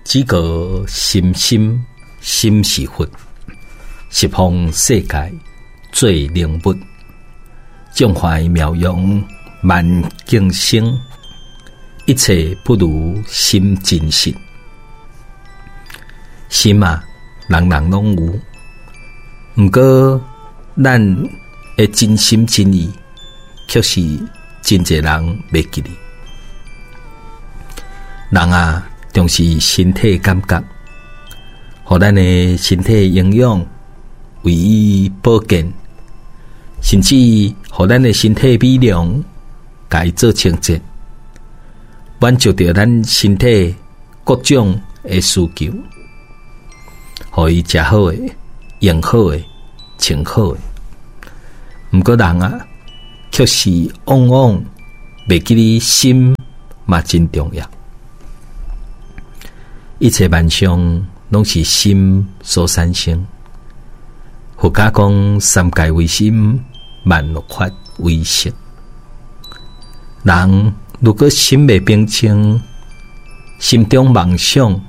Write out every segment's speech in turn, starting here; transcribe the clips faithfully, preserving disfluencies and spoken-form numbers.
只個心心心是佛，十方世界做靈物，眾懷妙用萬境生，一切不如心真實。心啊，人人攏有，毋過咱的真心真意，卻是真濟人袂記得。人啊，重視身體感覺，予咱的身體營養，為伊保健，甚至予咱的身體美容，共伊做清潔，滿足著咱身體各種的需求，予伊食好的、用好的、穿好的。毋過人啊，卻是往往袂記得心嘛真重要。一切萬象攏是心所產生。佛家講三界唯心，萬法唯識。人如果心袂平靜，心中妄想，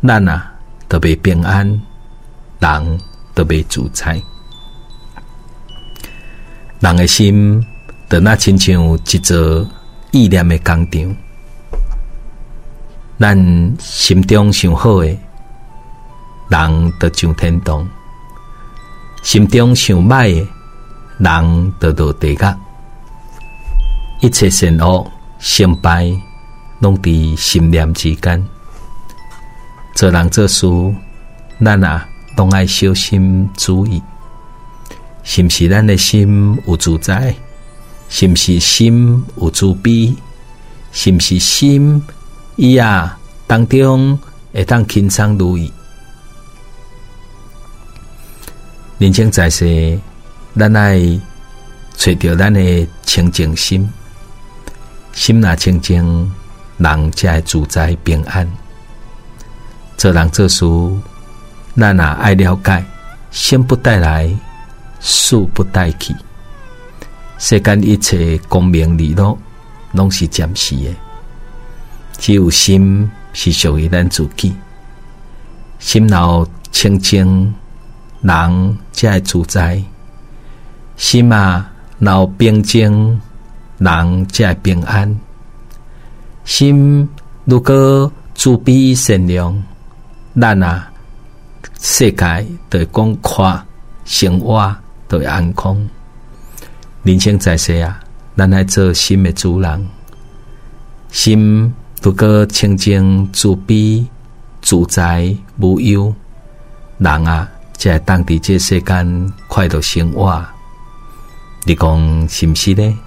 咱啊就袂平安，人就袂自在。人的心就若親像一座意念的工廠。咱心中想好的，人就上天堂；心中想歹的，人就落地獄。一切善惡成敗，攏佇心念之間。做人做事，咱啊攏愛小心注意，是毋是咱的心有自在？是毋是心有慈悲？是毋是心伊啊當中會當輕鬆如意？人生在世，咱愛揣著咱的清淨心，心若清淨，人才會自在平安。做人做事，咱若愛了解，生不帶來，死不帶去。世間一切功名利祿，攏是暫時的。只有心是屬於咱自己。心若清淨，人才會自在；心啊，若平靜，人才會平安。心如果慈悲善良，咱啊世界就會廣闊，生活就會安康。人生在世啊，咱愛做心的主人。心如果清淨、慈悲、自在、無憂，人啊，才會當佇這世間快樂生活。你講是毋是呢？